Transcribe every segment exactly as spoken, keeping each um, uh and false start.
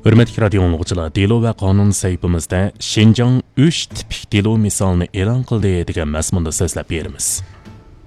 ھۆرمەتلىك رادىيو ئاڭلىغۇچىلار، دېلو ۋە قانۇن سەھىپىمىزدە شىنجاڭ ئۈچ تىپىك دېلو مىسالىنى ئېلان قىلدى دېگەن مەزمۇندا سۆزلەپ بېرىمىز.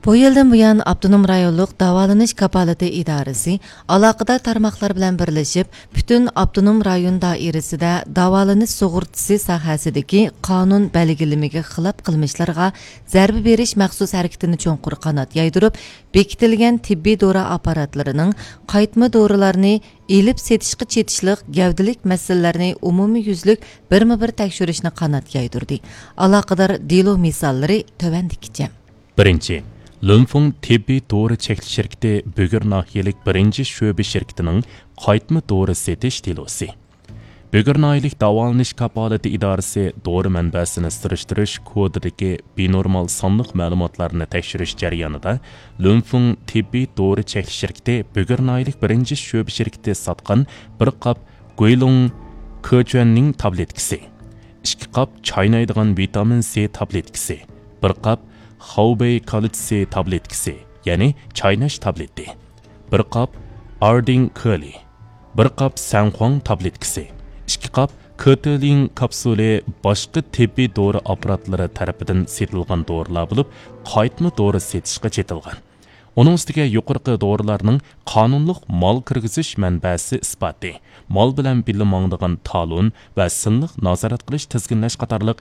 بۇ يىلدىن بۇيان، ئاپتونوم رايونلۇق داۋالىنىش كاپالىتى ئىدارىسى ئالاقىدار تارماقلار بىلەن بىرلىشىپ، پۈتۈن ئاپتونوم رايون دائىرىسىدە داۋالىنىش سۇغۇرتىسى ساھەسىدىكى قانۇن بەلگىلىمىگە خىلاپ قىلمىشلارغا زەربە بېرىش مەخسۇس ھەرىكىتىنى چوڭقۇر قانات يايدۇرۇپ، بېكىتىلگەن تېببىي دورا ئاپپاراتلىرىنىڭ قايتما دورىلارنى ئېلىپ سېتىشقا چېتىشلىق گەۋدىلىك مەسىلىلەرنى ئومۇميۈزلۈك بىرمۇ بىر تەكشۈرۈشنى قانات يايدۇردى. ئالاقىدار دېلو مىساللىرى تۆۋەندىكىچە. بىرىنچى، لۈنفېڭ تېببىي دورا چەكلىك شىركىتى بۈگۈر ناھىيەلىك بىرىنچى شۆبە شىركىتىنىڭ قايتما دورا سېتىش دېلوسى. بۈگۈر ناھىيەلىك داۋالىنىش كاپالىتى ئىدارىسى دورا مەنبەسىنى سۈرۈشتۈرۈش كودىدىكى بىنورمال سانلىق مەلۇماتلارنى تەكشۈرۈش جەريانىدا، لۈنفېڭ تېببىي دورا چەكلىك شىركىتى بۈگۈر ناھىيەلىك بىرىنچى شۆبە شىركىتى ساتقان بىر قاپ گۇيلۇڭ كېچۈەننىڭ تابلېتكىسى، ئىككى قاپ چاينايدىغان ۋىتامىن سى تابلېتكىسى، بىر قاپ خاۋبېي كالتسىي تابلېتكىسى، يەنى چايناش تابلېتى، بىر قاپ ئاردىڭ كۆلى، بىر قاپ سەنخۇاڭ تابلېتكىسى، ئىككى قاپ كۆتېلىڭ كاپسۇلى باشقا تېببىي دورا ئاپپاراتلىرى تەرىپىدىن سېتىلغان دورىلار بولۇپ، قايتما دورا سېتىشقا چېتىلغان. ئۇنىڭ ئۈستىگە يۇقىرىقى دورىلارنىڭ قانۇنلۇق مال كىرگۈزۈش مەنبەسى ئىسپاتى، مال بىلەن بىللە ماڭىدىغان تالون ۋە سىنلىق نازارەت قىلىش، تىزگىنلەش قاتارلىق